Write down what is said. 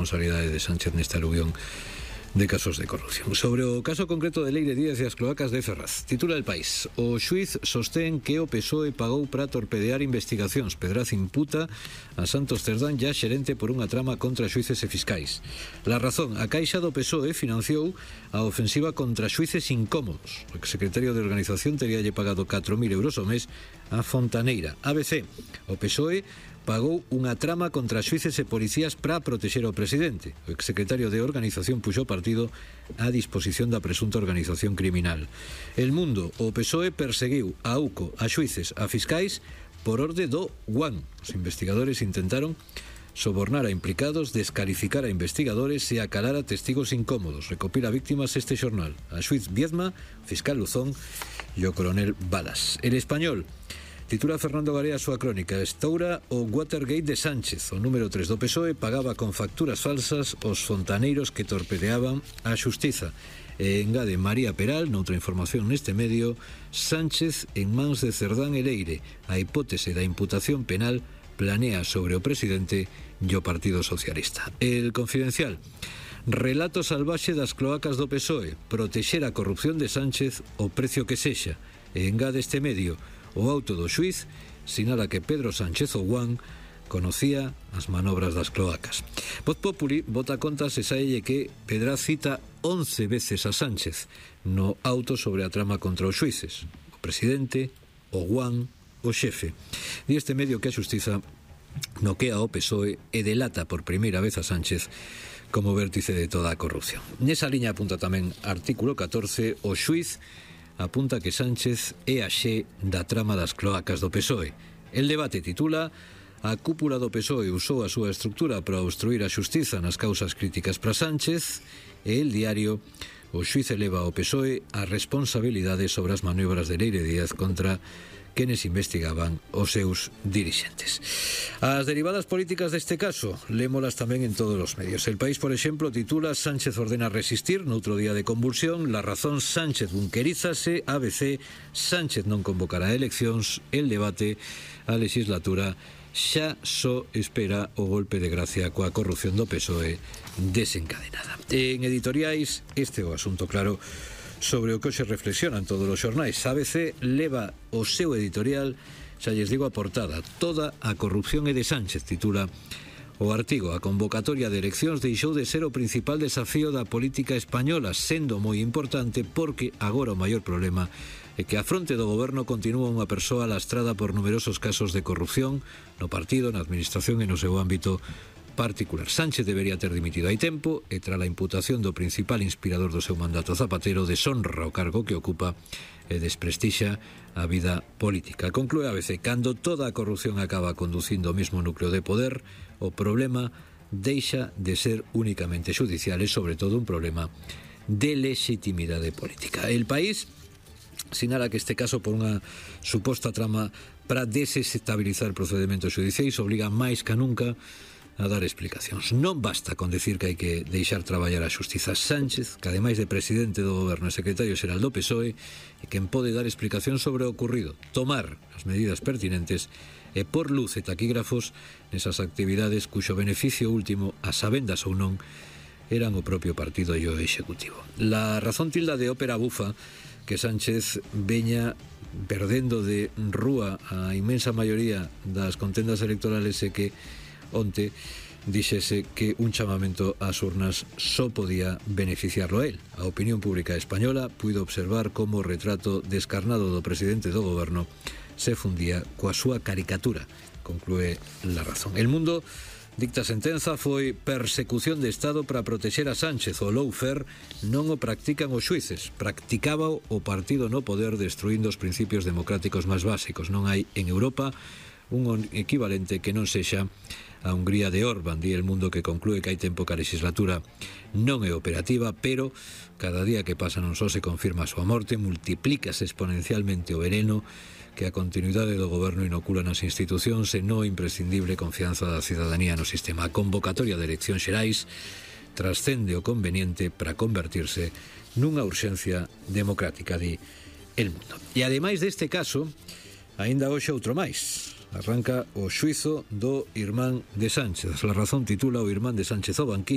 responsabilidade de Sánchez nesta aluvión de casos de corrupción. Sobre o caso concreto de Leire Díaz e as cloacas de Ferraz, titula El País: o xuiz sostén que o PSOE pagou para torpedear investigacións. Pedraz imputa a Santos Cerdán, ya xerente, por unha trama contra xuíces e fiscais. La Razón: a Caixa do PSOE financiou a ofensiva contra xuíces incómodos. O exsecretario de Organización teríalle pagado 4.000 euros ao mes a Fontaneira. ABC: o PSOE pagou unha trama contra xuíces e policías para protexer ao presidente. O exsecretario de Organización puxo partido á disposición da presunta organización criminal. El Mundo: o PSOE perseguiu a UCO, a xuíces, a fiscais por orde do UAN. Os investigadores intentaron sobornar a implicados, descalificar a investigadores e acalar a testigos incómodos. Recopila víctimas este xornal: a xuiz Viedma, fiscal Luzón e o coronel Balas. El Español titula Fernando Garea a súa crónica: estoura o Watergate de Sánchez. O número 3 do PSOE pagaba con facturas falsas os fontaneiros que torpedeaban a xustiza. E engade María Peral, noutra información neste medio: Sánchez en mans de Cerdán e Leire. A hipótese da imputación penal planea sobre o presidente e o Partido Socialista. El Confidencial: relato salvaxe das cloacas do PSOE, protexer a corrupción de Sánchez o precio que sexa. E engade este medio: o auto do xuiz sinala que Pedro Sánchez Ouán conocía as manobras das cloacas. Voz Populi bota contas e saelle que Pedraz cita 11 veces a Sánchez no auto sobre a trama contra os xuíces: o presidente, o Ouán, o xefe. Di este medio que a xustiza noquea o PSOE e delata por primeira vez a Sánchez como vértice de toda a corrupción. Nesa liña apunta tamén artículo 14: o xuiz apunta que Sánchez é a xe da trama das cloacas do PSOE. El Debate titula: a cúpula do PSOE usou a súa estructura para obstruir a xustiza nas causas críticas para Sánchez. E El Diario: o xuiz eleva ao PSOE a responsabilidade sobre as maniobras de Leire Díaz contra quenes investigaban os seus dirixentes. As derivadas políticas deste caso lémolas tamén en todos os medios. El País, por exemplo, titula: Sánchez ordena resistir noutro día de convulsión. La Razón: Sánchez bunquerízase. ABC: Sánchez non convocará eleccións. El Debate: a legislatura xa só espera o golpe de gracia coa corrupción do PSOE desencadenada. En editoriais, este é o asunto claro sobre o que hoxe reflexionan todos os xornais. ABC leva o seu editorial, xa lles digo a portada: toda a corrupción é de Sánchez, titula o artigo. A convocatoria de eleccións deixou de ser o principal desafío da política española, sendo moi importante porque agora o maior problema é que a fronte do goberno continúa unha persoa lastrada por numerosos casos de corrupción no partido, na administración e no seu ámbito particular. Sánchez debería ter dimitido hai tempo e tras a imputación do principal inspirador do seu mandato, Zapatero, deshonra o cargo que ocupa e desprestixa a vida política. Conclúe ABC: cando toda a corrupción acaba conducindo ao mesmo núcleo de poder, o problema deixa de ser únicamente xudicial e sobre todo un problema de legitimidade política. El País sinala que este caso, por unha suposta trama para desestabilizar procedementos xudiciais, obriga máis que nunca a dar explicacións. Non basta con decir que hai que deixar traballar a xustiza. Sánchez, que ademais de presidente do goberno e secretario xeral do PSOE, é quen pode dar explicacións sobre o ocurrido, tomar as medidas pertinentes e por luz e taquígrafos nesas actividades cuxo beneficio último, a sabendas ou non, eran o propio partido e o executivo. La Razón tilda de ópera bufa que Sánchez veña perdendo de rúa a inmensa maioría das contendas electorales e que onte díxese que un chamamento ás urnas só podía beneficiarlo a él. A opinión pública española puido observar como o retrato descarnado do presidente do goberno se fundía coa súa caricatura, conclúe La Razón. El Mundo dicta sentenza: foi persecución de Estado para protexer a Sánchez. O lawfare non o practican os xuíces, practicaba o partido no poder, destruindo os principios democráticos máis básicos. Non hai en Europa un equivalente que non sexa a Hungría de Orbán. Di El Mundo, que conclúe que hai tempo que a legislatura non é operativa, pero cada día que pasa non só se confirma a súa morte, multiplícase exponencialmente o veneno que a continuidade do goberno inocula nas institucións e no imprescindible confianza da cidadanía no sistema. A convocatoria de eleccións xerais trascende o conveniente para convertirse nunha urxencia democrática, di El Mundo. E ademais deste caso, aínda hoxe outro máis. Arranca o xuizo do irmán de Sánchez. La Razón titula: o irmán de Sánchez ao banquillo.